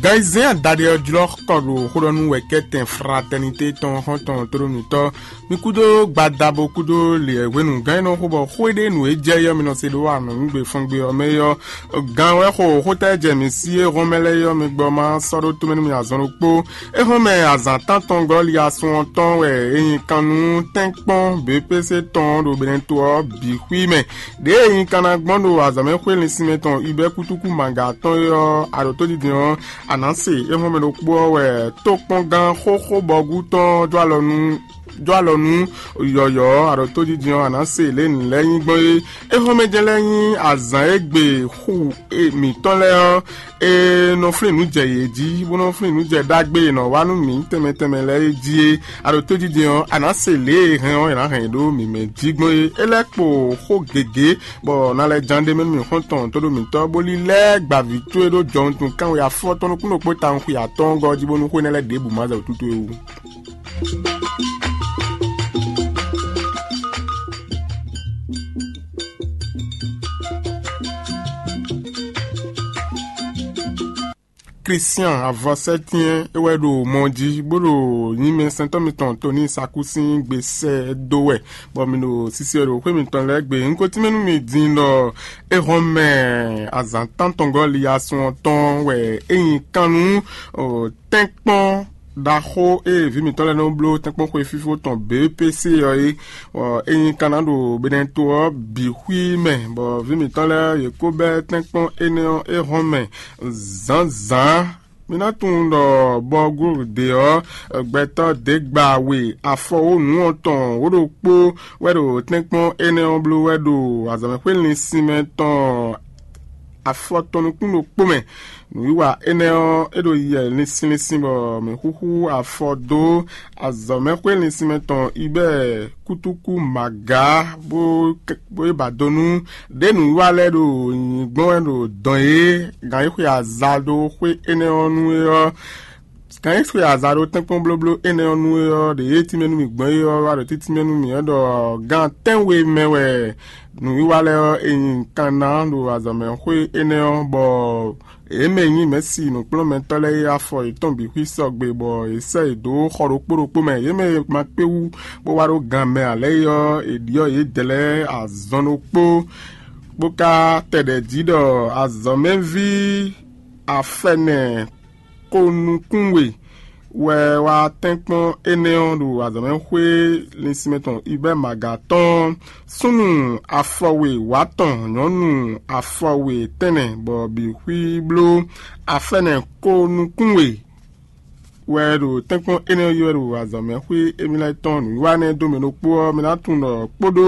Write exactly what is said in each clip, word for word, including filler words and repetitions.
Ayizɛ́n adaɖé ɔ́ jlɔ́ kɔ ɖo xó ɖɔ nú wɛ̌kɛ́tɛn fratɛnité tɔn xɔ́ntɔn tlóló mǐtɔn. Mi kúdó gbadabo kúdó lě hwenu gán e nɔ xo bɔ xó e ɖe nǔ e jɛ yɔ́ mi nɔ se ɖó anɔ̌nugbe fɔngbe ɔ́ mɛ é ɔ́, gán wɛ xo xótɛ́ jɛ mǐ sí e hɔn mɛ lɛ́ɛ yɔ́ mi gbɔ ma sɔ́ ɖó tomɛ nú mi azɔn ɖokpó. É hɔn mɛ azǎn tántɔn gɔ́ li asun ɔ́ tɔn wɛ é nyí kan nú tɛ́nkpɔ́n B P C tɔn ɖo Benɛto ɔ́ bǐ xwí mɛ. Ɖěe nyi kannagbɔn ɖo azɔ̌mɛxwé linsinmɛ tɔn Ibɛ́ kútúkú Maga tɔn é ɔ́, a ɖo tódidin ɔ́, a nǎ se é hɔn mɛ ɖokpó ɔ́ wɛ tókpɔ́ngán xóxó bɔgú tɔn jó alɔ nú jó alɔ nú yɔ̌yɔ́ ɔ́, a ɖo tódidin ɔ́, a nǎ se lě nǔ lɛ́ɛ nyí gbɔn é. É hɔn mɛ jɛ́n lɛ́ɛ nyí azǎn e gbe xu mǐtɔn lɛ́ɛ ɔ́, e nɔ flín nǔ jɛ yě jí, bó nɔ flín nǔ jɛ ɖagbe e nɔ wa nú mǐ tɛnmɛ tɛnmɛ lɛ́ɛ é jí é. A ɖo tójijɛ ɔ́, a nǎ se lě e hɛn ɔ́, è nǎ hɛn yě ɖó mǐmɛ́ jí gbɔn é. É lɛ́ kpo xó gěgé, bɔ na lɛ́ ján ɖ'é mɛ nú mǐ xɔ́ntɔn tó ɖó mǐtɔn, bó lílɛ́ gba vǐ towe ɖó jɔwuntun kánwe afɔ tɔn nukúnnú kpó tawun xwe atɔ́ɔ́ngɔ́ ɔ́ jí, bónú xó énɛ́ lɛ́ɛ ɖěbǔ ma zɛ wǔtútú é wú. Klístian avɔsɛ́tɛ́n é wɛ ɖo mɔ jí, bó ɖo nyí mɛsɛntɔ́ mitɔn Toni Saku sín gbe sɛ́ dó wɛ, bɔ mi ɖo sisi wɛ ɖo xwé mitɔn lɛ́ɛ gbe. Un ko tínmɛ nú mi din ɖɔ é hɔn mɛ azǎn tántɔngɔ́ li asun ɔ́ tɔn wɛ é nyí kan nú tɛ́nkpɔ́n ɖaxó e vǐ mǐtɔn lɛ́ɛ nɔ bló tɛ́nkpɔ́n xwe fífó tɔn B P C ɔ́ é. Bɔ é nyí kan ná ɖo Benɛto ɔ́ bǐ xwí mɛ, bɔ vǐ mǐtɔn lɛ́ɛ yě kó bɛ́ tɛ́nkpɔ́n énɛ́ ɔ́ é hɔn mɛ zǎnzǎn. Mi ná tunwun ɖɔ bɔgúde ɔ́, gbɛtɔ́ dě gba we afɔwónú ɔ́ tɔn wǒ ɖokpó wɛ ɖo tɛ́nkpɔ́n énɛ́ ɔ́ bló wɛ ɖo azɔ̌mɛxwé linsinmɛ tɔn afɔ tɔn nukún ɖokpó mɛ. Nǔwiwa énɛ́ ɔ́, é ɖo yiyɛ linsin linsin bɔ mǐ xúxú afɔ dó azɔ̌mɛxwé linsinmɛ tɔn Ibɛ́ɛ kútúkú Magǎ, bó bó yi ba do nú ɖě nǔwiwa lɛ́ɛ ɖo nyǐnyí gbɔn wɛ ɖo dɔn yě gǎn e xwe aza ɖó xwé énɛ́ ɔ́ nú é ɔ́. Gǎn e xwe aza ɖó tɛ́nkpɔ́n blóbló énɛ́ ɔ́ nú é ɔ́, ɖě e tínmɛ nú mì gbɔn é ɔ́ wá ɖo títínmɛ nú mì wɛ ɖɔ gǎn tɛ́nwe mɛ wɛ nǔwiwa lɛ́ɛ ɔ́, è nyi kan ná ɖo azɔ̌mɛxwé énɛ́ ɔ́, bɔ yě mɛ e nyí mɛ̌si nǔkplɔ́nmɛtɔ́ lɛ́ɛ é afɔ yětɔn bǐ xwí sɔgbe, bɔ yě sɛ́ yě dó xɔ ɖokpó ɖokpó mɛ. Yě mɛ e ma kpé wú bó wá ɖó gan mɛ ǎ lɛ́ɛ é ɔ́, è ɖyɔ́ yě dɛ̌ lɛ́ɛ azɔn ɖokpó, bó ka tɛ ɖɛ̌ jí ɖɔ azɔ̌mɛví afɛnɛ ko nukún we wɛ wá tɛ́nkpɔ́n énɛ́ ɔ́ ɖo azɔ̌mɛxwé linsinmɛ tɔn Ibɛ́ Maga tɔn, súnnu afɔwe wǎtɔn, nyɔ̌nu afɔwe tɛ́nnɛ, bɔ bǐ xwí bló afɛ́nɛ ko nukún we wɛ ɖo tɛ́nkpɔ́n énɛ́ ɔ́ yi wɛ ɖo azɔ̌mɛxwé émí lɛ́ɛ tɔn nǔwiwa nɛ́ dó mɛ ɖokpó ɔ́, mi ná tunwun ɖɔ kpódó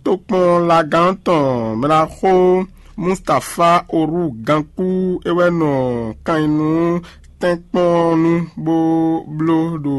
tokpɔnlagán tɔn mɛɖaxó Mustafá Orú gankú é wɛ nɔ kan nyi nú tɛ́nkpɔ́n ɔ́ nu bó bló ɖo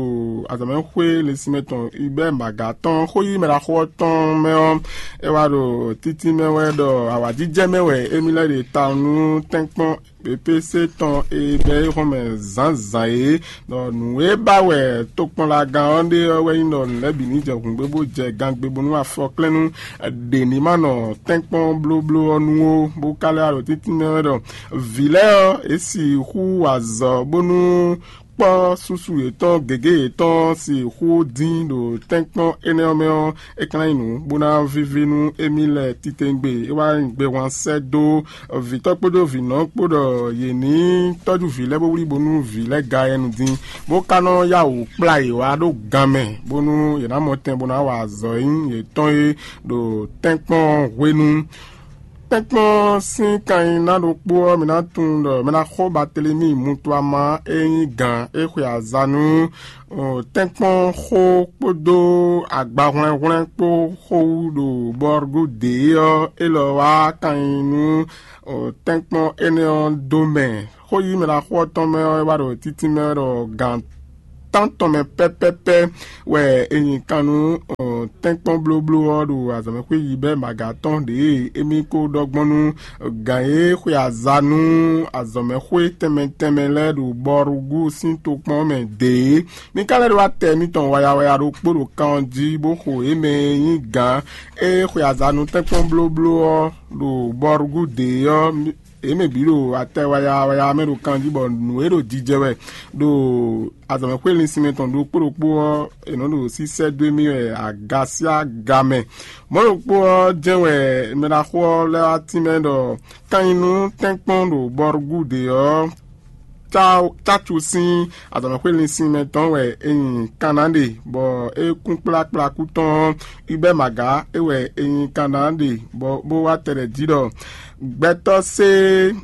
azɔ̌mɛxwé linsinmɛ tɔn Ibɛ́ Maga tɔn xó yí mɛɖaxó ɔ́ tɔn mɛ ɔ́, é wá ɖo títí mɛ wɛ ɖɔ awǎjijɛ mɛ wɛ émí lɛ́ ɖe tawun nú tɛ́nkpɔ́n B P C tɔn e bɛ́ é xɔ́n mɛ zǎnzǎn é, ɖɔ nǔ e ba wɛ tokpɔnlagán ɔ́ ɖe ɔ́ wɛ nyí ɖɔ nǔ lɛ́ɛ bǐ ní jɛ hǔngbé bó jɛ gangbe bónú afɔklɛ́nú ɖě ní ma nɔ tɛ́nkpɔ́n blóbló ɔ́ nu ó, bó ka lɛ́ wá ɖo títínmɛ wɛ ɖɔ vǐ lɛ́ɛ ɔ́, yě sixú wa azɔ̌ bónú kpɔ́ susu yětɔn gěgé yětɔn sixú dín ɖo tɛ́nkpɔ́n énɛ́ ɔ́ mɛ ɔ́, é ka ná nyí nǔ bó ná víví nú émí lɛ́ɛ titewungbe. É wá nyí gbehwan sɛ́ dó vǐtɔ́ kpódó vǐnɔ kpó ɖɔ yě ní tɔ́jú vǐ lɛ́ɛ bó wlí bónú vǐ lɛ́ɛ ga yɛnu dín, bó ka nɔ yá wǔ kplá yě wá ɖó gan mɛ, bónú yě ná mɔ tɛn bó ná wa azɔ̌ e nyí yětɔn é ɖo tɛ́nkpɔ́n hwenu. Tɛ́nkpɔ́n sín kanyiná ɖokpó ɔ́, mi ná tunwun ɖɔ mɛ ná xɔ Batelemi Mutuama e nyí gǎn e xwe aza nú tɛ́nkpɔ́n xó kpódó agbahwlɛ́nhwlɛ́n kpó xó wú ɖo Bɔrgudě ɔ́, élɔ́ wá kan nyi nú tɛ́nkpɔ́n énɛ́ ɔ́ dó mɛ. Xó yí mɛ ná xó ɔ́ tɔn mɛ ɔ́, é wá ɖo títí mɛ ɖɔ gǎn tántɔn mɛ pɛ́pɛ́pɛ́ wɛ è nyi kan nú tɛ́nkpɔ́n blóbló ɔ́ ɖo azɔ̌mɛxwé yibɛ́ maga tɔn ɖě e émí ko ɖɔ gbɔn nú gǎn e xwe aza nú azɔ̌mɛxwé tɛnmɛ tɛnmɛ lɛ́ɛ ɖo Bɔrugú sín tokpɔn mɛ dě é. Mi ka lɛ́ ɖó atɛ mitɔn waya waya ɖokpó ɖo kan ɔ́ jí, bó xo yě mɛ e nyí gǎn e xwe aza nú tɛ́nkpɔ́n blóbló ɔ́ ɖo Bɔrugú dě ɔ́, Yě mɛ bǐ ɖo atɛ waya waya mɛ ɖo kanjí bɔ nǔ e ɖo jijɛ wɛ ɖo azɔ̌mɛxwé linsinmɛ tɔn ɖokpó ɖokpó ɔ́, è nɔ ɖo sísɛ́ dó émí wɛ aga sín aga mɛ. Mɔ̌ ɖokpó ɔ́ jɛ́n wɛ mɛɖaxó ɔ́ lɛ́ wá tínmɛ ɖɔ kan nyi nú tɛ́nkpɔ́n ɖo Bɔrugúde ɔ́, Cácu sín azɔ̌mɛxwé linsinmɛ tɔn wɛ è nyi Kanna ɖe, bɔ é kún kplákplá kú tɔn ɔ́, Ibɛ́ Magǎ é wɛ è nyi Kanna ɖe, bɔ bó wá tɛɖɛ jí ɖɔ gbɛtɔ́ sé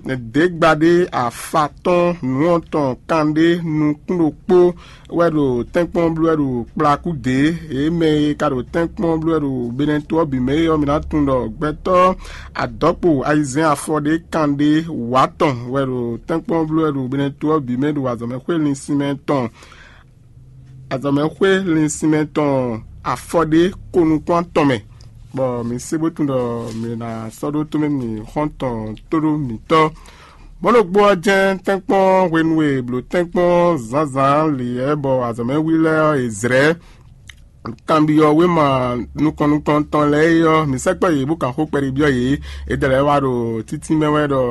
ɖěgbaɖé afa tɔn nǔ ɔ́ tɔn kanɖé nukún ɖokpó wɛ ɖo tɛ́nkpɔ́n bló wɛ ɖo kplakú dě. Yě mɛ e ka ɖo tɛ́nkpɔ́n bló wɛ ɖo Benɛto ɔ́ bǐ mɛ é ɔ́, mi ná tunwun ɖɔ gbɛtɔ́ adɔ̌kpo ayizɛ́n afɔ ɖé kanɖé wǎ tɔn wɛ ɖo tɛ́nkpɔ́n bló wɛ ɖo Benɛto ɔ́ bǐ mɛ ɖo azɔ̌mɛxwé linsinmɛ tɔn azɔ̌mɛxwé linsinmɛ tɔn afɔ ɖé ko nukún atɔn mɛ, bɔ mi se bó tunwun ɖɔ mi ná sɔ́ ɖó tomɛ mi xɔ́ntɔn tóɖó mǐtɔn. Mɔ̌ ɖokpó ɔ́ jɛ́n tɛ́nkpɔ́n hwenu e è blǒ tɛ́nkpɔ́n zǎnzǎn lǐyɛ́ bɔ azɔ̌mɛví lɛ́ɛ ɔ́, è zlɛ́ kanbyɔ́ wéma nukɔn nukɔntɔn lɛ́ɛ é ɔ́, mǐ sɛkpɔ́ yě bó kan xó kpɛɖé byɔ́ yě. È dɛ lɛ́ɛ wá ɖo títí mɛ wɛ ɖɔ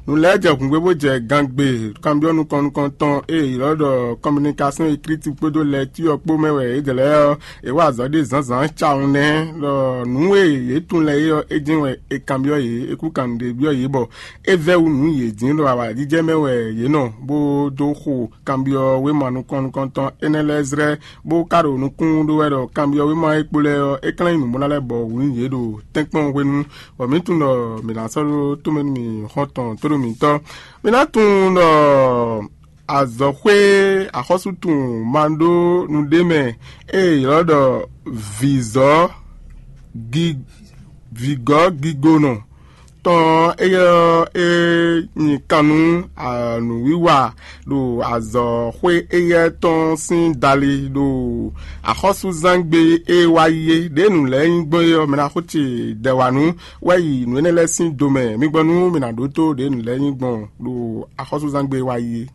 nǔ lɛ́ɛ jɛ hǔngbé bó jɛ gangbe. Kanbyɔ́ nukɔn nukɔntɔn e è ylɔ́ ɖɔ communication écrite kpódó lɛtí ɔ́ kpó mɛ wɛ é dɛ lɛ́ɛ ɔ́, è wá azɔ̌ ɖé zǎnzǎn cawun nɛ́ ɖɔ nǔ e yě tunwun lɛ́ɛ é ɔ́, é jɛ́n wɛ è kanbyɔ́ yě, é kú kan nǔɖé byɔ́ yě bɔ é vɛ́ wú nǔ yě dín ɖo awǎjijɛ mɛ wɛ yě nɔ bó dó xo kanbyɔ́ wéma nukɔn nukɔntɔn énɛ́ lɛ́ɛ zlɛ́, bó ka ɖo nukúnnú ɖó wɛ ɖɔ kanbyɔ́ wéma e kpo lɛ́ɛ ɔ́, é klɛ́n nyí nǔmlá lɛ́ɛ bɔ wǔ nyi yě ɖo tɛ́nkpɔ́n hwenu, bɔ mǐ tunwun ɖɔ mǐ ná sɔ́ ɖó tomɛ nú mì xɔ́ntɔn tóɖó mǐtɔn. Mǐ ná tunwun ɖɔ azɔ̌xwé axɔ́sútun ma ɖó nǔɖé mɛ e è ylɔ́ ɖɔ vǐzɔ́ gi vǐgɔ́ gigonɔ tɔn ɔ́, éyɛ́ ɔ́, é nyi kan nú nǔwiwa ɖo azɔ̌xwé éyɛ́ tɔn sín dali ɖo axɔ́súzángbe e wá yi é. Ɖěe nǔ lɛ́ɛ nyí gbɔn é ɔ́, mɛ ná xó ce dɛ wǎ nú wɛ yi nǔ énɛ́ lɛ́ɛ sín do mɛ. Mi gbɔ nú mi ná ɖótó ɖěe nǔ lɛ́ɛ nyí gbɔn ɖo axɔ́súzángbe e wá yi é.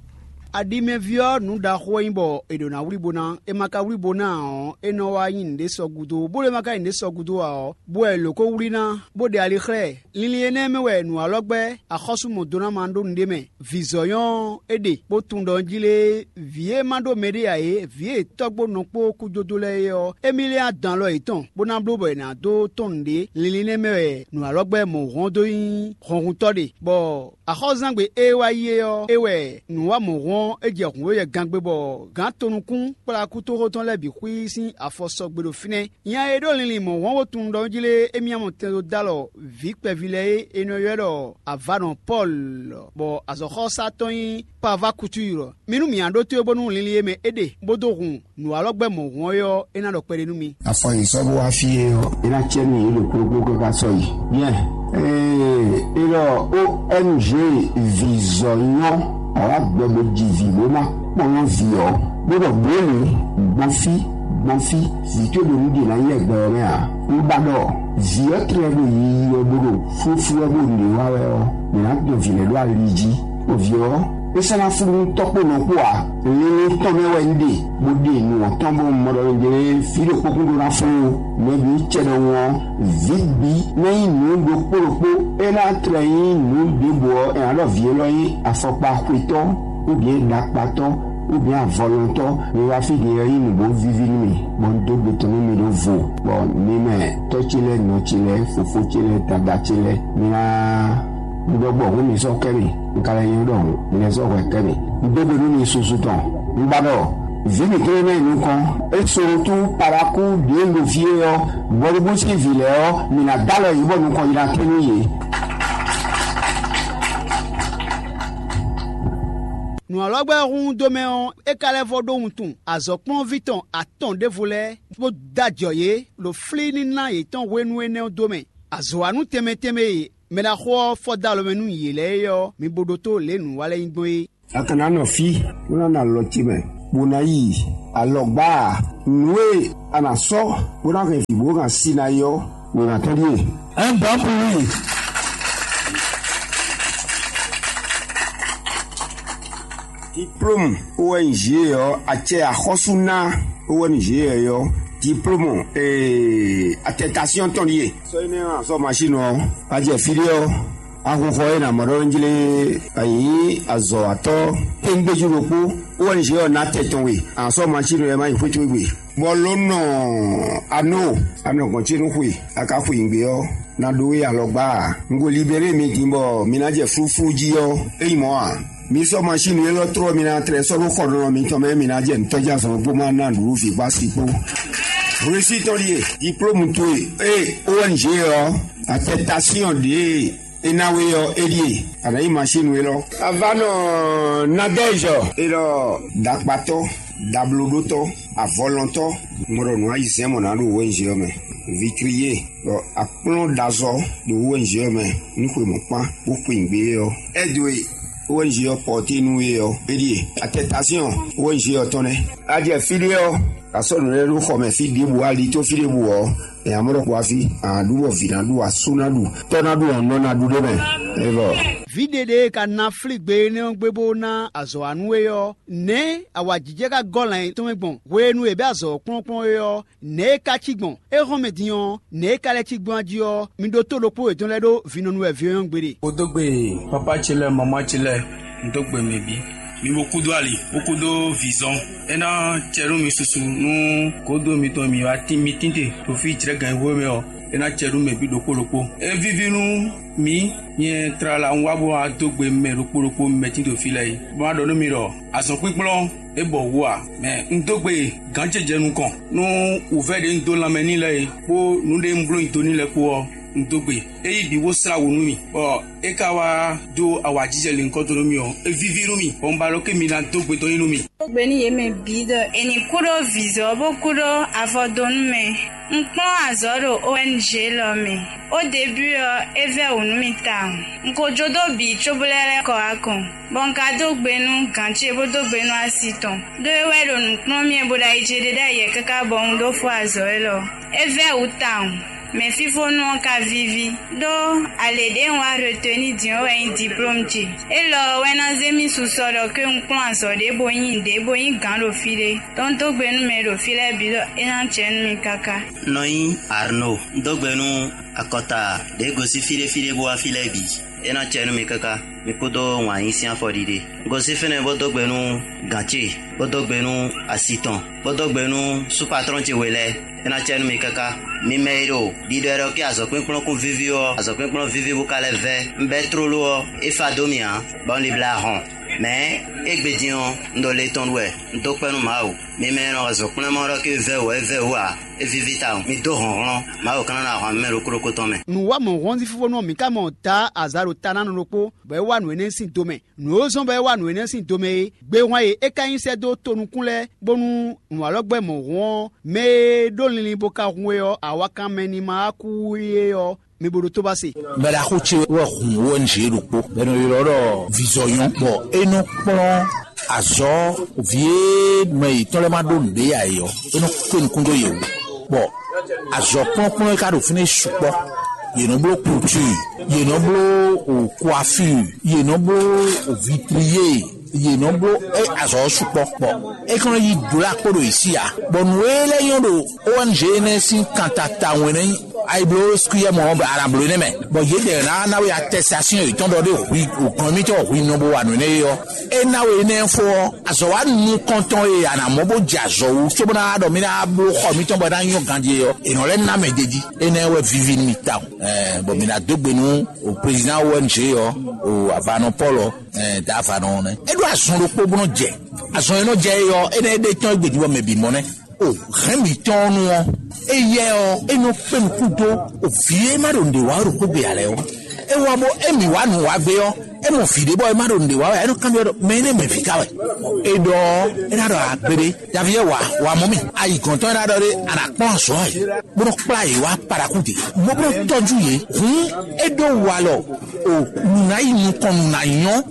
Aɖimɛví ɔ́, nǔ ɖaxó wɛ nyí bɔ è ɖǒ ná wlí bo ná; è ma ka wlí bo ná ǎ ɔ́, é nɔ wá nyí nǔɖé sɔ gúdo, bó ɖé ma ka nyí nǔɖé sɔ gúdo ǎ ɔ́, bó wɛ è lǒ ko wlí ná, bó ɖe ali xlɛ́ ɛ. Linlin énɛ́ mɛ wɛ nǔwalɔ́gbɛ́ axɔ́sú mɔ̌dónáma ɖó nǔɖé mɛ. Vǐzɔ́ nyɔ́ ɔ́, é ɖe, bó tunwun ɖɔ un jí lé vǐ e ma ɖó mɛɖé ǎ é, vǐ e tɔ́gbó nɔ kpó kújódó lɛ́ɛ é ɔ́, émí lɛ́ adǎn lɔ yětɔn, bó ná bló bɔ è nǎ dó tɔ́n nǔɖé. Linlin énɛ́ mɛ wɛ nǔwalɔ́gbɛ́ mɔ̌hɔn dó nyí hɔnhuntɔ́ ɖe, bɔ axɔ́zangbe e wá yi é ɔ́, é wɛ nǔwamɔ̌hɔn ɔ́ é jɛ hǔn e yɛ gangbe bɔ gǎn tonukún kplá kútóxó tɔn lɛ́ɛ bǐ xwí sín afɔ sɔgbe ɖo fínɛ́. Nya e ɖó linlin mɔ̌hɔn wo tunwun ɖɔ jí lé émí mɔ tɛn dó dó alɔ vǐ kpɛví lɛ́ɛ e è nɔ ylɔ́ ɖɔ avǎnɔ Pɔ́lu, bɔ azɔ̌xɔ́sá tɔn nyí Pavakutúylɔ. Mi nú mǐ ná ɖótó e bónú linlin e mɛ é ɖe, bó dó hun nǔwalɔ́gbɛ́ mɔ̌hɔn é ɔ́, é ná ɖɔ kpɛɖé nú mi. Afɔ e sɔ́ bó wá fí é ɔ́, é ná cɛ nú yě ɖo kplɔ́kplɔ́ káká sɔ́ yi. Nyɛ, ee, é ɖɔ O N G vǐzɔ́nyɔ́, awǎ gbɛ bó ji vǐ bó ná kpɔ́n vǐ ɔ́, bó ɖɔ bǒ lě, gbɔn fí, gbɔn fí, vǐ towe ɖo nǔ ɖe ná yi ɛgbɛ ɔ́ mɛ ǎ. Un ba ɖɔ vǐ ɔ́ tlɛ ɖo yiyi wɛ bó ɖo flúflú wɛ bó ɖě wa wɛ ɔ́, mǐ ná dɔn vǐ lɛ́ɛ ɖó ali jí. Bɔ vǐ ɔ́, é sɔ́ ná flú nú tɔ́ kpó nɔ kpó ǎ. Linlin tɔn mɛ wɛ un ɖe, bó ɖe nǔ ɔ́ tɔn bó un mɔ ɖɔ un jlé fí ɖo kpókún ɖó ná flú ó. Mɛ bǐ cɛ ɖɔhun ɔ́, vǐ bǐ ná nyí nǔ ɖokpó ɖokpó. É ná tlɛ nyí nǔ ɖěbǔ ɔ́, è nǎ ɖɔ vǐ élɔ́ nyí afɔkpa xwetɔ́, ou bien ɖakpatɔ́, ou bien avɔlɔntɔ́. Mi wá fí din ɔ́ nyí nǔ bó víví nú mi, bɔ un dó gbe tɔn nú mi ɖó vo, bɔ mi mɛ tɔ́ ce lɛ́ɛ, nɔ ce lɛ́ɛ, fofó ce lɛ́ɛ, dada ce lɛ́ɛ, mi ná un ɖɔ gbɔ hǔn mi sɔ́ kɛ mi, un ka lɛ́ nyɔ́ ɖɔ hǔn, mi lɛ́ sɔ́ hwɛ kɛ mi. Un dó gbe nú mi susu tɔn. Un ba ɖɔ vǐ mǐtɔn e ná yi nukɔn, é Solotu Palakú ɖě un ɖo fí é ɔ́, Bɔlubú sín vǐ lɛ́ɛ ɔ́, mǐ ná dó alɔ yě bɔ nukɔn yi ná tɛ́ nú yě. Nǔ ɔ́ lɔ gbɛ́ hun dó mɛ ɔ́, é ka lɛ́ vɔ ɖó wuntun azɔ̌kplɔ́nví tɔn atɔn ɖěvo lɛ́ɛ, bó dó ajɔ yě ɖo flíníná yětɔn hwenu énɛ́ ɔ́ dó mɛ. Azɔ̌wanú tɛnmɛ tɛnmɛ e mɛ ɖaxó ɔ́ fɔ dó alɔ mɛ nú yě lɛ́ɛ é ɔ́, mi bo ɖótó lě nǔ wa lɛ́ɛ nyí gbɔn é. A ka ná nɔ fí, bó ná nɔ alɔ ce mɛ, bó ná yi alɔgbá a? Nǔ e a nǎ sɔ́, bó ná hɛn vǐ bó hɛn asi ná yi ɔ́, wěma tɔn ɖíe. Un dɔn pour lui. Diplôme O N G ɔ́, acɛ axɔ́sú ná O N G ɔ́, diplôme ee attestation tɔn ɖíe. Sɔ énɛ́ ɔ́, azɔ́ machine ɔ́, a jɛ fí ɖé ɔ́, Axuxɔ e nǎ mɔ ɖɔ un jlé a nyǐ azɔ̌watɔ́ kpéŋgbéjú ɖokpó, O N G ɔ́ ná tɛ tɔn we, a nǎ sɔ́ masín lɛ́ɛ má yi xwé towe gbe. Bɔ lǒ nɔ anó anɔ gɔ̌n ce nú xwe, a ka xwe nyǐgbe ɔ́, ná ɖó we alɔgbá ǎ. Un ko libéré mi din bɔ mi ná jɛ flúflú jí ɔ́, é nyí mɔ̌ ǎ. Mi sɔ́ masín élɔ́ tlɔ́ mi ná tlɛ sɔ́ ɖó xɔɖɔnɔ mitɔn mɛ, mi ná jɛ nǔtɔ́jazɔn kpó má ná nǔɖuɖu vǐ kpó asi kpó. Hwesí tɔn ɖíe, diplôme towe e O N G ɔ́, attestation ɖě e ná we ɔ́, é ɖíe, a nǎ nyí masín élɔ́. A va nɔ Nadège élɔ́, ɖakpatɔ́, ɖablóɖótɔ́, avɔlɔntɔ́, mɔ ɖɔ nǔ ayizɛ́n mɔ nǎ ɖo O N G ɔ́ mɛ. Vitrier, bɔ akplɔ́n ɖazɔ́ ɖo O N G ɔ́ mɛ, ní xwe mɔ̌ kpán, bó xwe nǔgbé ɔ́. Aide e O N G ɔ́ pɔ́té nú we ɔ́, é ɖíe, attestation O N G ɔ́ tɔn nɛ́. A jɛ fí ɖé ɔ́, a sɔ́ nǔ lɛ́ɛ ɖó xɔ mɛ fí ɖěbǔ, ali tó fí ɖěbǔ ɔ́, nya mɔ ɖɔ kpo afi, a ɖu bɔ vǐ ná ɖu, asú ná ɖu, tɔ́ ná ɖu, ɔnɔ ná ɖu ɖé mɛ. É bɔ Vǐ ɖeɖe e ka ná flígbe énɛ́ ɔ́ gbe bó ná azɔ̌ wa nú we ɔ́, nɛ̌ awǎjijɛ ka gɔ́ lan yětɔn mɛ gbɔn hwenu e è bɛ́ azɔ̌ ɔ́ kplɔ́nkplɔ́n é ɔ́, nɛ̌ é ka cí gbɔn? É hɔn mɛ din ɔ́, nɛ̌ é ka lɛ́ cí gbɔn jí ɔ́, mi ɖótó ɖokpó yětɔn lɛ́ɛ ɖó vǐnɔnu wɛ vǐ ɔ́ nyɔ́ gbeɖé. Kpódó gbe pápá ce lɛ́ɛ, mamá ce lɛ́ɛ, un dó gbe mɛ bǐ. Mi bo kúdó ali, bó kúdó vǐzɔn. É ná cɛ nú mi susu nú gǒdo mitɔn mi wá tín mi tín te ɖo fí jlɛ̌gǎn e hwé mɛ ɔ́, é ná cɛ nú mɛ bǐ ɖokpó ɖokpó. É víví nú mǐ, nyɛ tlala un wá bó wá dó gbe mɛ ɖokpó ɖokpó mɛ tín ɖo fí lɛ́ɛ é, bó má ɖɔ nú mi ɖɔ azɔ̌ kpínkplɔ́n é bɔ wǔ ǎ. Mɛ un dó gbe gǎn ce jɛ nukɔn nú wǔvɛ́ ɖě un dó lanmɛ n'i lɛ́ɛ é, kpó nǔ ɖé un bló nyi do n'i lɛ́ɛ kpó ɔ́, un dó gbe. É yí bǐ bó slá wǔ nú mì, bɔ é ka wá dó awǎjijɛ lěhunkɔtɔn nú mì ɔ́, é víví nú mì, bɔ un ba ɖɔ ké mi ná dó gbe dɔn nyi nú mì. Dó gbe nú yě mɛ bǐ ɖɔ è nǐ kú ɖó vǐzɔ́ bó kú ɖó avɔdónú mɛ. Un kplɔ́n azɔ̌ ɖo O N G lɔ mɛ. Ó debú ɔ́, é vɛ́ wǔ nú mì tawun. Un ko jó dó bǐ cóbó lɛ́ lɛ́ kɔ wá kɔn, bɔ un ka dó gbe nú gǎn ce bó dó gbe nú asi tɔn. Ɖó é wɛ ɖo nǔ kplɔ́n mì wɛ bó ɖo ayi ce ɖe ɖ'ayǐ wɛ káká bɔ un ɖó fó azɔ̌ élɔ́. É vɛ́ wǔ tawun. Mɛ fífónú ɔ́ ka víví, ɖó alě ɖě un wá retenu din ɔ́ wɛ nyí diplôme ce. Élɔ́ ɔ́ wɛ ná zé mì susɔ ɖɔ ké un kplɔ́n azɔ̌ ɖé bó nyí nǔɖé bó nyí gǎn ɖo fí ɖé. Dɔn dó gbe nú mɛ e ɖo fí lɛ́ɛ bǐ ɖɔ é ná jɛ nú mi káká. Nɔ nyí Arno, un dó gbe nú akɔta ɖě gosín fí ɖé fí ɖé bó wá fí lɛ́ɛ bǐ. É ná cɛ nú mi káká, mi kúdó wǎn yí sín afɔɖiɖe. Un gosín fínɛ́ bó dó gbe nú gǎn ce, bó dó gbe nú asi tɔn, bó dó gbe nú súpatrɔ́n ce we lɛ́ɛ. É ná cɛ nú mi káká. Mi mɛ e ɖo ɖiɖɔ e ɖɔ ké azɔ̌kplɔ́nkplɔ́n kún víví ɔ́, azɔ̌kplɔ́nkplɔ́n víví bó ka lɛ́ vɛ́. Un bɛ́ tlóló ɔ́, é fa dó mì ǎ, bɔ un libla hɔn. Mɛ̌ égbé din ɔ́, un ɖo le tɔn ɖu wɛ, un dó kpɛ́ nú Mawu. Mi mɛ e nɔ wa zɔ̌nkplɔ́nmɔ ɖɔ ké vɛ́ wǔ ɔ́, é vɛ́ wǔ ǎ. É víví tawun. Mi dó hlɔ̌nhlɔ́n. Mawu ka nɔ ná ahwan mɛ ɖokpó ɖokpó tɔn mɛ. Nǔ wa mɔ̌ hɔn sín fífónú ɔ́, mǐ ka mɔ ta azǎ ɖo ta ná nɔ ɖokpó, bɔ é wa nǔ énɛ́ sín do mɛ. Nǔ e zɔ́n bɔ é wa nǔ énɛ́ sín do mɛ é, gbehwan e é ka nyi sɛ́ dó tonukún lɛ́ɛ, bónú nǔwalɔ́gbɛ́ mɔ̌ hɔn ɔ́, mɛ e ɖó linlin bó ka hun é ɔ́, awakanmɛ ní ma wá kú é ɔ́, mi bo ɖótó ba se. Mɛɖaxó ce wɛ hun O N G ɖokpó, bɔ è nɔ ylɔ́ ɖɔ Vizɔyɔn, bɔ é nɔ kplɔ́n azɔ̌ vǐ e mɛ yětɔn lɛ́ɛ ma ɖó nǔɖé ǎ é ɔ́, é nɔ kpé nukún dó yě wú. Bɔ azɔ̌ kplɔ́nkplɔ́n e ka ɖo fínɛ́ sukpɔ́. Yě nɔ bló kultúr, yě nɔ bló o coiffure, yě nɔ bló o vitrier, yě nɔ bló é azɔ̌ sukpɔ́. Bɔ é kɔn yi dula kpó ɖo yě sí ǎ. Bɔ nǔ e lɛ́ nyɔ́ ɖo O N G énɛ́ sín kan ta tawun é nɛ́ nyí. Ayi bló skúyɛ mɔ ɔ́, a nǎ bló énɛ́ mɛ. Bɔ yědɛɛ ná ná we attestation yětɔn ɖɔ ɖé hwi, o gɔn émítɔn hwi nɔ bo wa nǔ énɛ́ é ɔ́, é ná we énɛ́ fó ɔ́, azɔ̌ wa nukɔntɔn e a nǎ mɔ bó jɛ azɔ̌ wú, cóbó ná ɖɔ mí ná bló xɔ mítɔn bɔ é ná nyɔ́ ganjí é ɔ́, è nɔ lɛ́ ná mɛ d'é jí. Énɛ́ wɛ víví nú mi tawun. Ɛɛ, bɔ mi ná dó gbe nú o président O N G ɔ́, o avanɔ Paul ɔ́, ɛɛ, da avanɔ ɔ́ nɛ́. É ɖó azɔn ɖokpó bó nɔ jɛ. Azɔn e nɔ jɛ é ɔ́, énɛ́ é ɖe tɔn é gbědúgbɔ mɛ bǐ mɔ nɛ́. O hɛn mǐtɔn ɔ́ nu ɔ́, éyɛ́ ɔ́, é nɔ kpé nukún dó o vǐ e ma ɖo nǔɖé wa ɔ́ ɖo xwé gbe ǎ lɛ́ɛ ɔ́. É wá bó émí wá nǔ wá gbé ɔ́, é mɔ vǐ ɖé bɔ é ma ɖo nǔɖé wa wɛ, é nɔ kanbyɔ́ ɖɔ mɛ énɛ́ mɛ vǐ ka wɛ. É ɖɔ é ná ɖɔ agbeɖé, Davídɛ́ wǎ, wǎ mɔ mì. Ayi gɔ̌ntɔn é ná ɖɔ ɖé, a nǎ kpɔ́n azɔ̌ ɛ, bó nɔ kplá yě wá Paɖakúde, bó bó nɔ tɔ́jú yě. Hǔn é ɖó walɔ o nǔ ná yi nukɔn nǔ ná nyɔ́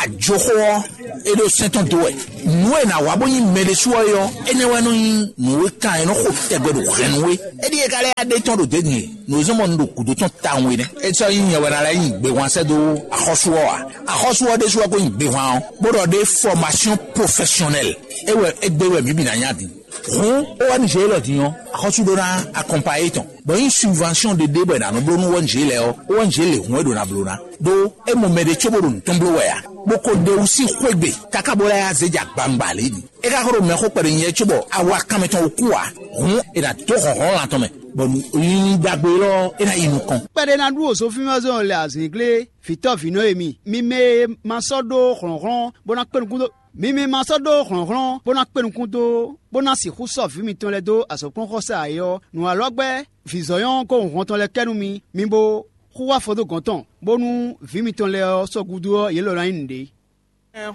ajoxó ɔ́, é ɖó sɛ́n tɔn dó wɛ. Nǔ e è nǎ wa bó nyí mɛ ɖésú ɔ́ é ɔ́, énɛ́ wɛ nɔ nyí nǔ e kan è nɔ xo tɛgbɛ ɖo hɛ̌nnu é. É ɖíe ka lɛ́ ɖe tɔn ɖo dě din e, nǔ e zɔ́n bɔ un ɖo gǔdo tɔn tawun é nɛ́. É sɔ́ nyí nyɛ wɛ ná lɛ́ nyi gbehwan sɛ́ dó axɔ́sú ɔ́ ǎ. Axɔ́sú ɔ́ ɖésú wɛ ko nyí gbehwan ɔ́, bó ɖɔ ɖé formation professionnelle. É wɛ é gbé wɛ mǐ bǐ ná nya din. Hǔn, ó wá ní zě élɔ́ din ɔ́, axɔ́sú ɖó ná akɔnpayé tɔn. Bɔ nyí subvention ɖeɖe bɔ è nǎ nɔ bló nú O N G lɛ́ɛ ɔ́, O N G lě hun wɛ ɖo ná bló ná. Ɖó é mɔ mɛ ɖé cóbó ɖo nǔ tɔn bló wɛ ǎ, bó ko ɖe wú sín xwé gbe káká bó lɛ́ yá zé jɛ agbaŋgba lě ɖi. É ka ko ɖo mɛxó kpɛɖé nyɛ cóbɔ awa kanmɛ tɔn wú kú ǎ, hǔn è nǎ dó hlɔ̌nhlɔ́n lan tɔn mɛ, bɔ nǔ nyínyí ɖagbe élɔ́ é ná yi nukɔn. Kpɛɖé ná ɖu òzofínvɔ́zɔn lɛ azǐnglé vǐtɔ́vǐnɔ e mi, mi mɛ e ma sɔ́ ɖó hlɔ̌nhlɔ́n bó ná kpé nukún dó mi mɛ ma sɔ́ ɖó hlɔ̌nhlɔ́n bó ná kpé nukún dó, bó ná sixú sɔ́ vǐ mitɔn lɛ́ɛ dó azɔ̌kplɔ́nxɔsá ǎ é ɔ́, nǔ walɔ́ gbɛ́ vǐzɔ́nyɔ́ kó hun hɔn tɔn lɛ́ɛ kɛ nú mi, mi bo xú wá fɔ dó gɔ̌n tɔn, bónú vǐ mitɔn lɛ́ɛ ɔ́ sɔ́ gúdo ɔ́, yě lɔ ná nyí nǔɖé.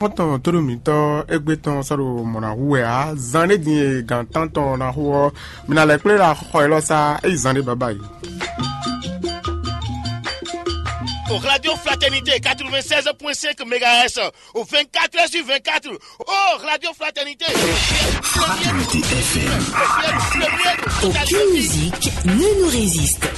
Xɔ́ntɔn tóɖó mǐtɔn égbé tɔn sɔ́ ɖo mɔ̌ ná hu wɛ ǎ. Zan ɖé din e gǎn tántɔn ná xo ɔ́, mi ná lɛ́ kplé ɖo axɔxɔ élɔ́ sá, é yi zan ɖé baba yi. Au Radio Fraternité quatre-vingt-seize point cinq mégahertz, au vingt-quatre heures sur vingt-quatre. Oh, Radio Fraternité. Fraternité F M. Aucune musique ne nous résiste.